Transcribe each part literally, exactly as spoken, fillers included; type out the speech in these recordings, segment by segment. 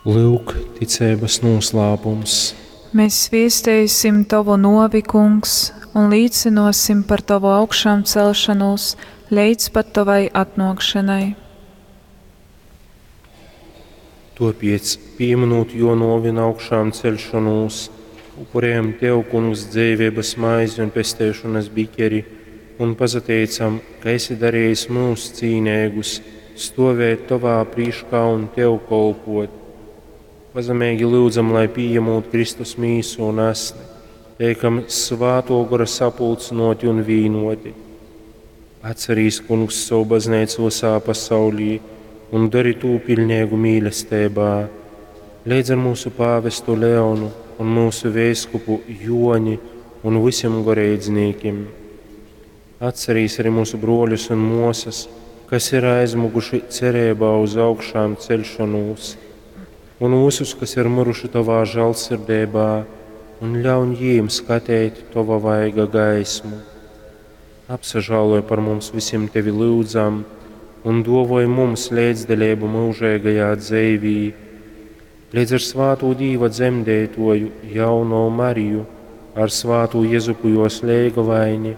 Lyuk, ticeibas nūslāpums. Mēs viesteisim Tovu nuovi, Kungs, un līcynuosim par Tovu augšāmcelšanūs leidz pat Tovai atnuokšanai. Tuopiec, pīmynūt juo nuovi un augšāmceļšonūs, upurējam Tev, Kungs, dzeiveibas maizi un pesteišonas bikeri un pasateicam, ka esi darījis mūs cīneigus stovēt Tovā prīškā un Tev kolpot. Pazemeigi lyudzam, lai pījemūt Kristus mīsu un asni, teikam Svātuo Gora sapulcynoti un vīnoti. Atcerīs, Kungs, savu bazneicu visā pasaulī un dari tū piļneigu mīlestībā. Leidz ar mūsu pāvestu Leonu un mūsu veiskupu Joni un visiem goreidznīkim. Atcerīs arī mūsu bruoļus un muosas, kas ir aizmuguši cerībā uz augšām ceļšanos, un visus, kas ir miruši Tavā žēlsirdībā, un ļauj jīm skatīt Tova vaiga gaismu. Apsažāloj par mums visiem Tevi lūdzam, un dovoj mums līdzdaļību mūžīgajā dzeivī, līdz ar svāto Dīva dzemdētoju jauno Mariju, ar svāto Jezupu jos leigavaini,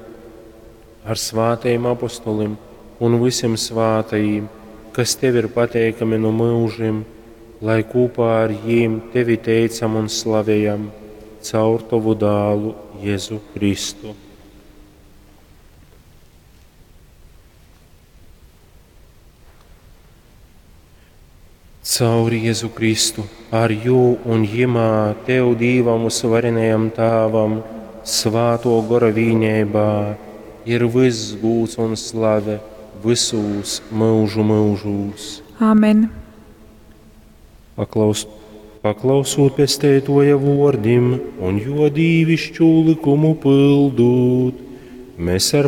ar svātajiem apostolim un visiem svātajiem, kas Tev ir pateikami no mūžim, lai kopā ar jīm Tevi teicam un slavējam caur Tavu dālu Jēzu Kristu. Caur Jēzu Kristu, ar jū un jimā Tev Dīvam uzvarenajam Tāvam, svāto gora vīnībā, ir viss gūts un slave visūs mūžu mūžūs. Āmen. Paklaus, paklausūt pesteitoja vordim un jo dīvišķu likumu pildūt, mēs ar